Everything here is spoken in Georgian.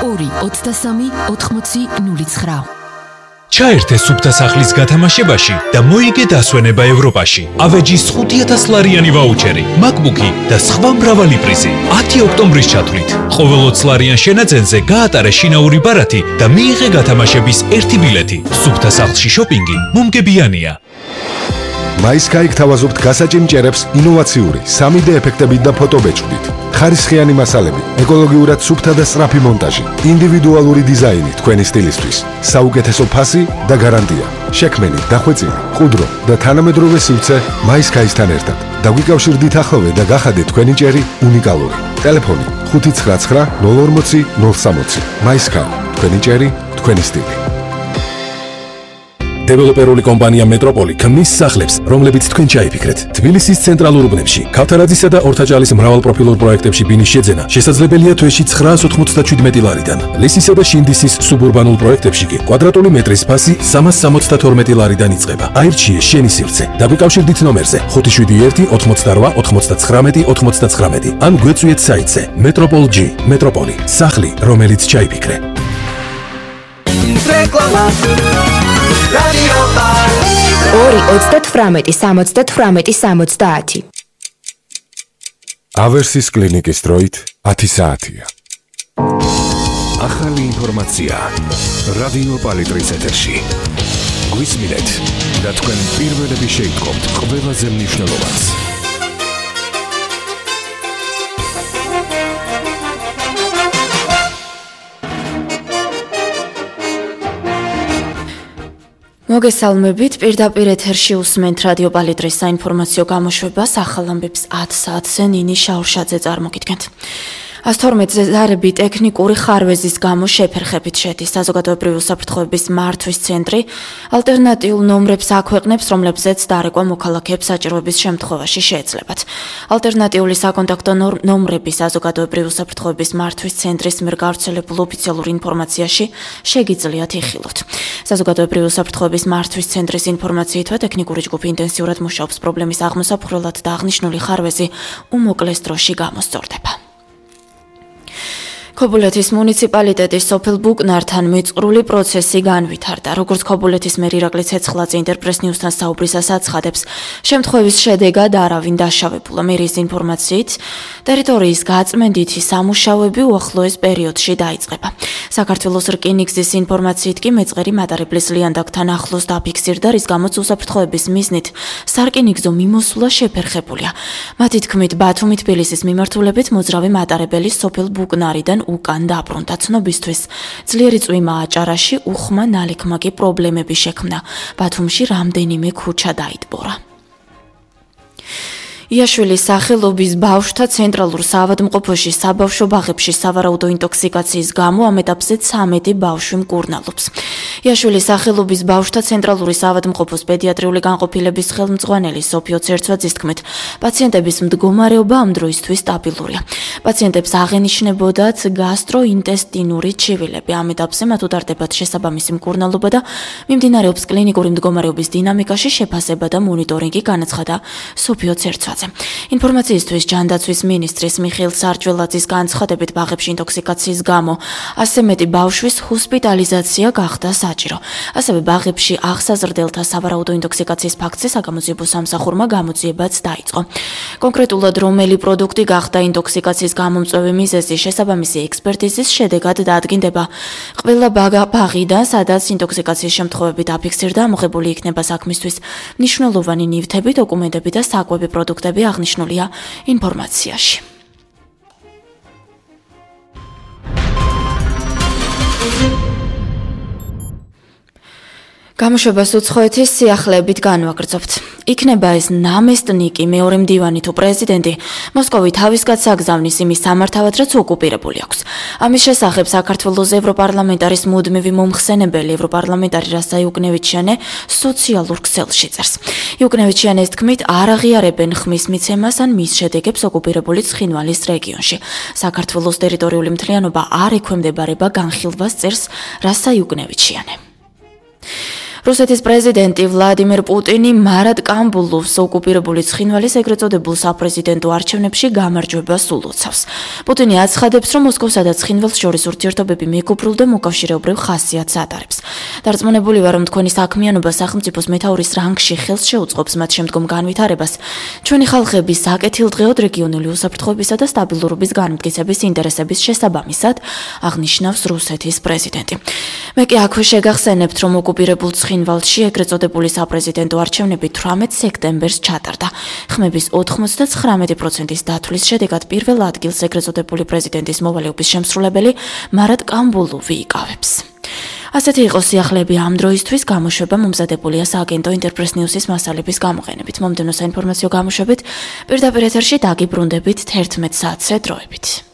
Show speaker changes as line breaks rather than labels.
2-23-80-09.
ჩაერთე სუფთა სახლის გათამაშებაში და მოიგე დასვენება ევროპაში. ავეჯის 5,000 ლარიანი ვაუჩერი, MacBook-ი და სხვა მრავალი პრიზი. 10 ოქტომბრის ჩათვლით. ყოველ 20 ლარიან შენაძენზე გაატარე შინაური ბარათი და მიიღე გათამაშების 1 ბილეთი. სუფთა სახლში შოპინგი მომგებიანია.
MySky გთავაზობთ გასაჭიმჭერებს ინოვაციური 3D ეფექტებით და ფოტობეჭდით. ხარისხიანი მასალები, ეკოლოგიურად სუფთა და სწრაფი მონტაჟი, ინდივიდუალური დიზაინი თქვენი სტილისთვის, საუკეთესო ფასი და გარანტია. შექმენი, დახვეწილი, ყუდრო და თანამედროვე სივრცე MySky-სთან ერთად. დაგვიკავშირდით ახლოვე და გახადეთ თქვენი ჭერი უნიკალური. ტელეფონი 599 040 060. MySky, თქვენი ჭერი, თქვენი სტილი.
დეველოპერული კომპანია მეტროპოლი ქმნის სახლებს, რომლებიც თქვენ ჩაიფიქრეთ. თბილისის ცენტრალურ უბნებში, ქავთარაძისა და ორთაჭალის მრავალპროფილურ პროექტებში ბინის შეძენა შესაძლებელია თვეში 997 ლარიდან. ლისისა და შინდისის სუბურბანულ პროექტებში კი კვადრატული მეტრის ფასი 372 ლარიდან იწყება. აირჩიე შენი სივრცე. დაგვიკავშირდით ნომერზე 571 88 99 99 ან გვეწვიეთ საიტზე Metropol-G. მეტროპოლი, სახლი, რომელიც ჩაიფიქრე.
რეკლამა 2-38-70-70.
ავერსის კლინიკის დროით 10 საათია.
ახალი ინფორმაცია რადიო პალიტრის ეთერში. გვისმინეთ და თქვენ პირველები შეიტყობთ ყველაზე მნიშვნელოვანს.
მოგესალმებით, პირდაპირ ეთერში უსმენთ რადიო პალიტრის საინფორმაციო გამოშვებას ახალ ამბებს 10 საათზე ნინი შაურშაძე წარმოგიდგენთ. 112-ზე ზარები ტექნიკური ხარვეზის გამო შეფერხებით შედის. საზოგადოებრივი უსაფრთხოების მართვის ცენტრი ალტერნატიულ ნომრებს აქვეყნებს, რომლებზეც დარეკვა მოქალაქეებს საჭიროების შემთხვევაში შეეძლებათ. ალტერნატიული საკონტაქტო ნომრები საზოგადოებრივი უსაფრთხოების მართვის ცენტრის მიერ გავრცელებულ ოფიციალურ ინფორმაციაში შეგიძლიათ იხილოთ. საზოგადოებრივი უსაფრთხოების მართვის ცენტრის ინფორმაციითვე ტექნიკური ჯგუფი ინტენსიურად მუშაობს პრობლემის აღმოსაფხვრელად და აღნიშნული ხარვეზი უმოკლეს დროში გამოსწორდება. ქობულეთის მუნიციპალიტეტის სოფელ ბუკნართან მიწყრული პროცესი განვითარდა. როგორც ქობულეთის მერი ირაკლი ცეცხლაძე ინტერპრეს ნიუსთან საუბრისას აცხადებს, შემთხვევის შედეგად არავინ დაშავებულა. მერიის ინფორმაციით, ტერიტორიის გაწმენდითი სამუშაოები უახლოეს პერიოდში დაიწყება. საქართველოს რკინიგზის ინფორმაციით კი მეწყერი მატარებლის ლიანდაგთან ახლოს დაფიქსირდა, რის გამოც უსაფრთხოების მიზნით სარკინიგზო მიმოსვლა შეფერხებულია. მათი თქმით, ბათუმი-თბილისის მიმართულებით მოძრავი მატარებელი სოფელ ბუკნარიდან უკან დაბრუნდა. ცნობისთვის ძლიერი წვიმა აჭარაში უხმა ნალექმაკი პრობლემები შექმნა. ბათუმში რამდენიმე ქუჩა დაიტბორა. იაშვილის სახელობის ბავშვთა ცენტრალურ საავადმყოფოში საბავშვო ბაღებში სავარაუდო ინტოქსიკაციის გამო ამ ეტაპზე 13 ბავშვი მკურნალობს. იაშვილის სახელობის ბავშვთა ცენტრალური საავადმყოფოს პედიატრიული განყოფილების ხელმძღვანელი სოფიო ცერცვაძის თქმით, პაციენტების მდგომარეობა ამ დროისთვის სტაბილურია. პაციენტებს აღენიშნებოდათ გასტროინტესტინური ჩივილები. ამ ეტაპზე მათ უტარდებათ შესაბამისი მკურნალობა და მიმდინარეობს კლინიკური მდგომარეობის დინამიკაში შეფასება და მონიტორინგი, განაცხადა სოფიო ცერცვაძე. ინფორმაციისთვის ჯანდაცვის მინისტრის მიხეილ სარჯველაძის განცხადებით, ბაღებში ინტოქსიკაციის გამო 100 მეტი ბავშვის ჰოსპიტალიზაცია გახდა საჭირო. ასევე ბაღებში აღსაზრდელთა სავარაუდო ინტოქსიკაციის ფაქტზე საგამოძიებო სამსახურმა გამოძიებაც დაიწყო. კონკრეტულად რომელი პროდუქტი გახდა ინტოქსიკაციის გამომწვევი მიზეზი, შესაბამისი ექსპერტიზის შედეგად დაადგინდება. ყველა ბაღიდან, სადაც ინტოქსიკაციის შემთხვევები დაფიქსირდა, მოხებული იქნება საქმისთვის მნიშვნელოვანი ნივთები, დოკუმენტები და საკვები პროდუქტები აღნიშნულია ინფორმაციაში. გამოშვებას უცხოეთის სიახლეებით განვაგრძობთ. იქნება ეს ნამესტნიკი, მეორე მდივანი თუ პრეზიდენტი, მოსკოვი თავისგან საგზავნის იმის სამართავად, რაც ოკუპირებული აქვს. ამის შესახებ საქართველოს ევროპარლამენტარის მუდმივი მომხსენებელი ევროპარლამენტარი რასა იუკნევიჩიანე სოციალურ ქსელში წერს. იუკნევიჩიანეს თქმით, არ აღიარებენ ხმის მიცემას ან მის შედეგებს ოკუპირებული ცხინვალის რეგიონში. საქართველოს ტერიტორიული მთლიანობა არ ექვემდებარება განხილვას, წერს რასა იუკნევიჩიანე. რუსეთის პრეზიდენტი ვლადიმერ პუტინი მარად კამბულოვს ოკუპირებული ცხინვალის ეგრეთ წოდებულ საპრეზიდენტო არჩევნებში გამარჯვებას ულოცავს. პუტინი აცხადებს, რომ მოსკოვსა და ცხინვალს შორის ურთიერთობები მეგობრულ და მოკავშირეობრივ ხასიათს ატარებს. დარწმუნებული ვარ, რომ თქვენი საქმიანობა სახელმწიფოს მეთაურის რანგში ხელს შეუწყობს მათ შემდგომ განვითარებას. ჩვენი ხალხების საკეთილდღეოდ რეგიონული უსაფრთხოებისა და სტაბილურობის განმტკიცების ინტერესების შესაბამისად, აღნიშნავს რუსეთის პრეზიდენტი. მე კი აქვე შეგახსენებთ, რომ ოკუპირებულ ცხინვალში ეგრეთ წოდებული საპრეზიდენტო არჩევნები 18 სექტემბერს ჩატარდა. ხმების 99%-ის დათვლის შედეგად პირველ ადგილს ეგრეთ წოდებული პრეზიდენტის მოვალეობის შემსრულებელი მარად კამბულოვი იკავებს. ასეთი იყო სიახლეები ამ დროისთვის. გამოშვება მომზადებულია სააგენტო ინტერპრეს ნიუსის მასალების გამოყენებით. მომდევნო საინფორმაციო გამოშვებით პირდაპირ ეთერში დაგიბრუნდებით 11 საათზე დროებით.